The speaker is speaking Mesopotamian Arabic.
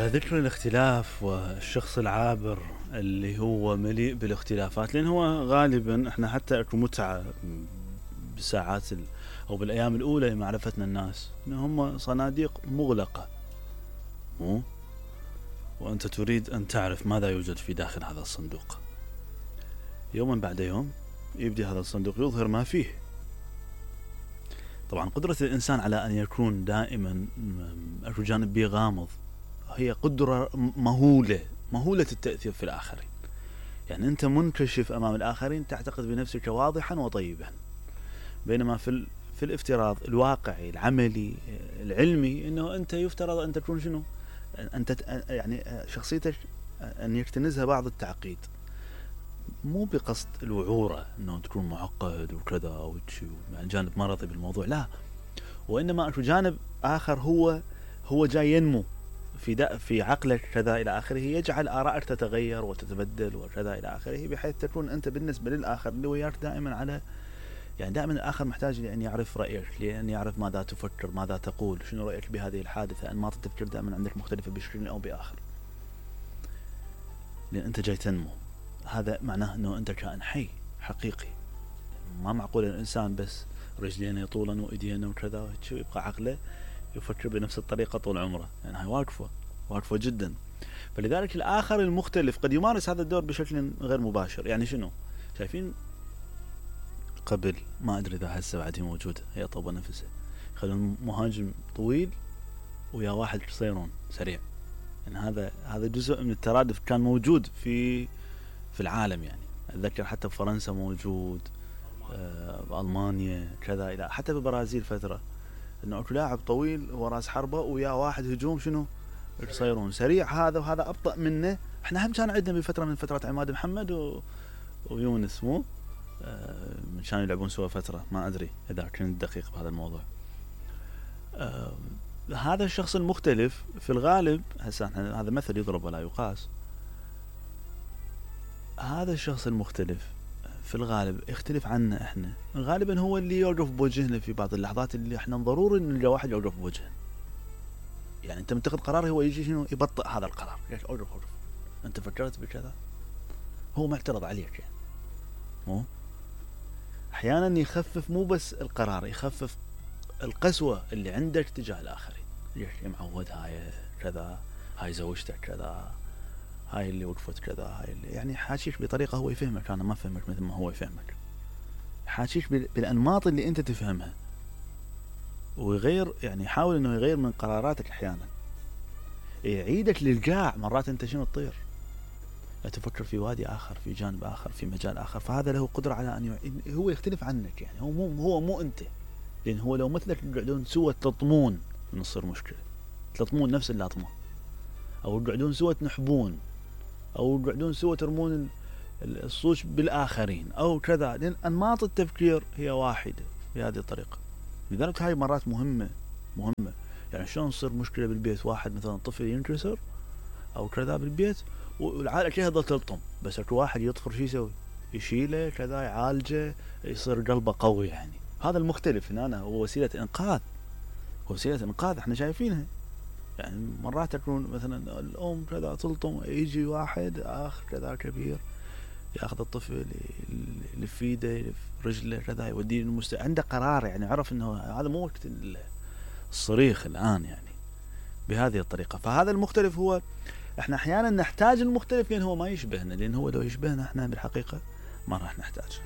على ذكر الاختلاف والشخص العابر اللي هو مليء بالاختلافات، لأن هو غالبا احنا حتى اكو متعة بساعات او بالايام الاولى لمعرفتنا الناس ان هم صناديق مغلقة، وانت تريد ان تعرف ماذا يوجد في داخل هذا الصندوق. يوما بعد يوم يبدأ هذا الصندوق يظهر ما فيه. طبعا قدرة الانسان على ان يكون دائما اكو جانب بيه غامض هي قدرة مهولة التأثير في الآخرين. يعني أنت منكشف أمام الآخرين، تعتقد بنفسك واضحا وطيبا، بينما في الافتراض الواقعي العملي العلمي أنه أنت يفترض أن تكون شنو؟ أنت يعني شخصيتك أن يكتنزها بعض التعقيد، مو بقصد الوعورة أنه تكون معقد وكذا يعني جانب مرضي بالموضوع، لا، وإنما أكو جانب آخر هو جاي ينمو في عقلك كذا إلى آخره، يجعل آرائك تتغير وتتبدل وكذا إلى آخره، بحيث تكون أنت بالنسبة للآخر اللي وياك دائما على، يعني دائما الآخر محتاج لأن يعرف رأيك، لأن يعرف ماذا تفكر، ماذا تقول، شنو رأيك بهذه الحادثة. أنماط التفكير دائما عندك مختلفة بشكل أو بآخر، لأن أنت جاي تنمو. هذا معناه أنه أنت كائن حي حقيقي. ما معقول الإنسان بس رجلين يطولن وإيدين وكذا يبقى عقله يفكر بنفس الطريقة طول عمره، يعني هاي واقفة جدا. فلذلك الآخر المختلف قد يمارس هذا الدور بشكل غير مباشر. يعني شنو؟ شايفين قبل، ما أدري إذا هسه بعد هي موجودة، هي طوبة نفسه، خلون مهاجم طويل ويا واحد قصيرون سريع. يعني هذا جزء من الترادف كان موجود في العالم. يعني أتذكر حتى بفرنسا موجود، بألمانيا كذا، إلى حتى بالبرازيل فترة، انه اكو لاعب طويل وراس حربة ويا واحد هجوم شنو قصيرون سريع، هذا وهذا ابطأ منه. احنا هم كان عندنا بفترة من فترات عماد محمد ويونس، مو من كانوا يلعبون سوا فترة، ما ادري اذا كنت دقيق بهذا الموضوع. هذا الشخص المختلف في الغالب، هسه هذا مثل يضرب ولا يقاس، هذا الشخص المختلف في الغالب يختلف عنا احنا، غالبا هو اللي يوقف بوجهنا في بعض اللحظات اللي احنا ضروري ان نلقى واحد يوقف بوجهنا. يعني انت متخذ قرار، هو يجي شنو يبطئ هذا القرار، ليش اوقف انت فكرت بكذا، هو معترض عليك. يعني مو احيانا يخفف مو بس القرار، يخفف القسوة اللي عندك تجاه الاخرين. ليش معود هاي كذا، هاي زوجتك كذا، هاي اللي وقفت كذا، هاي اللي يعني حاشيك بطريقة هو يفهمك، أنا ما فهمك مثل ما هو يفهمك، حاشيك بالأنماط اللي أنت تفهمها، ويغير، يعني يحاول إنه يغير من قراراتك أحيانا، يعيدك للقاع. مرات أنت شنو تطير، تفكر في وادي آخر، في جانب آخر، في مجال آخر. فهذا له قدرة على أن هو يختلف عنك. يعني هو مو أنت، لأن هو لو مثلك تقعدون سوا تلطمون نصير مشكلة، تلطمون نفس اللطمة، أو تقعدون سوا تنحبون، أو تقعدون سوا ترمون الصوش بالآخرين أو كذا، لأن أنماط التفكير هي واحدة بهذه الطريقة. لذلك هاي مرات مهمة. يعني شلون تصير مشكلة بالبيت، واحد مثلا طفل ينكسر أو كذا بالبيت والعائلة كلها تظل تلطم، بس اكو واحد يطفر شو يسوي، يشيله كذا، يعالجه، يصير قلبه قوي. يعني هذا المختلف هنا هو وسيلة إنقاذ احنا شايفينها. يعني مرات تكون مثلا الأم كذا تلطم، يجي واحد آخر كذا كبير ياخذ الطفل يلف ايده يلف رجله كذا، يوديه عنده قرار. يعني عرف انه هذا مو وقت الصريخ الآن، يعني بهذه الطريقة. فهذا المختلف هو، احنا احيانا نحتاج المختلف لان هو ما يشبهنا، لان هو لو يشبهنا احنا بالحقيقة ما راح نحتاج.